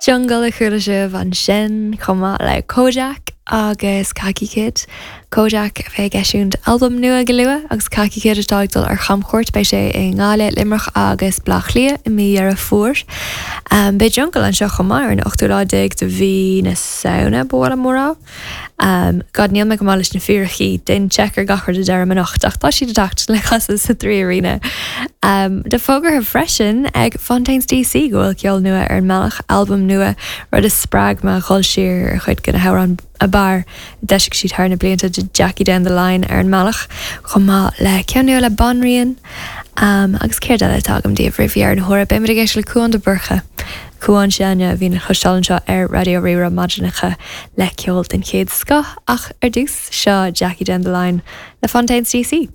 Jungle a chuala sibh ansin, chomh maith le Kojaque agus Khaki Kid. Kojaque a bheidh ag eisiúint albam nua go luath agus Khaki Kid atá ag dul ar chamchuairt. Beidh sé i nGaillimh, Luimneach agus Baile Átha Cliath i mí Dheireadh Fómhair. Beidh Jungle anseo chomh maith ar an ochtú lá déag de mhí na Samhna, ba mhaith liom a rá. God, níl mé go maith leis na fíricí, déan check ar gach rud a deirim anocht, ach tá siad ag teacht le casadh sa 3Arena. Tá fógartha freisin ag Fontaines DC go bhfuil ceol nua ar an mbealach, albam nua, rud a spreag mé a dhul siar ar chuid de na hamhráin ab fhearr a d'eisigh siad thar na blianta, tá Jackie Down the Line ar an mbealach, chomh maith le ceann nua le Banríon. Agus céard eile atá agam daoibh roimh dheireadh na huaire? Beimid ag éisteacht le Cúán de Búrca. Cúán s'againne a bhíonn le cloisteáil anseo ar Raidió Rí-Rá maidineacha le ceol den chéad scoth ach ar dtús, seo Jackie Down the Line le Fontaines DC.